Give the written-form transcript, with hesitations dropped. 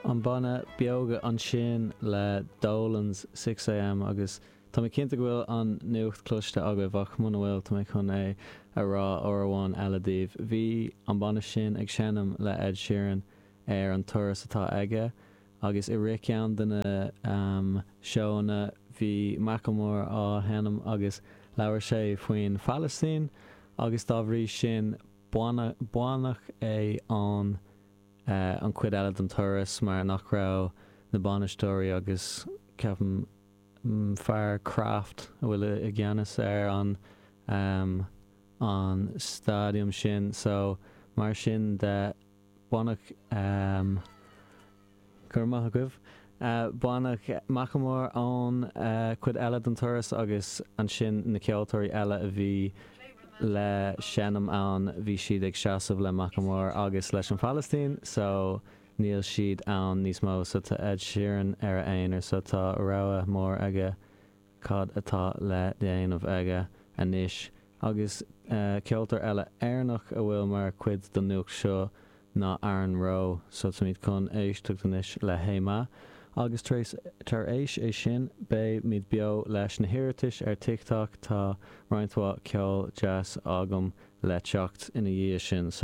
An banna Beoga ansin le Dolan's 6am agus tá mé cinnte go bhfuil an nuacht cloiste agaibh ach muna bhfuil tá mé chun é a rá uair amháin eile daoibh. Bhí an banna sin ag seinm le Ed Sheeran ar an turas atá aige agus i rith ceann de na seóanna bhí Macklemore á sheinm agus labhair sé faoin Phalaistín agus dá bhrí sin baineadh é ón an chuid eile den turas mar nach raibh na bainisteoirí agus ceapaim fear Kraft a bhfuil i gceannas ar an an staidiam sin so mar sin de baineadh Go raibh maith agaibh. Baineadh Macklemore ón chuid eile den turas agus ansin na ceoltóirí eile a bhí le seinm ann bhí siad ag seasamh le Macklemore agus leis an Phalaistín so níl siad ann níos mó so tá Ed Sheeran ar a aonar so tá rogha mór aige cad atá le déanamh aige anois. Agus ceoltóir eile Éireannach a bhfuil mar chuid den nuacht seo ná Aaron Rowe. So táimid chun éisteacht anois le Hey Ma. Agus tar éis tar éis é sin beimid beo leis na hiarratais ar TikTok. Tá roinnt mhaith ceol deas agam le teacht ina dhiaidh sin. So.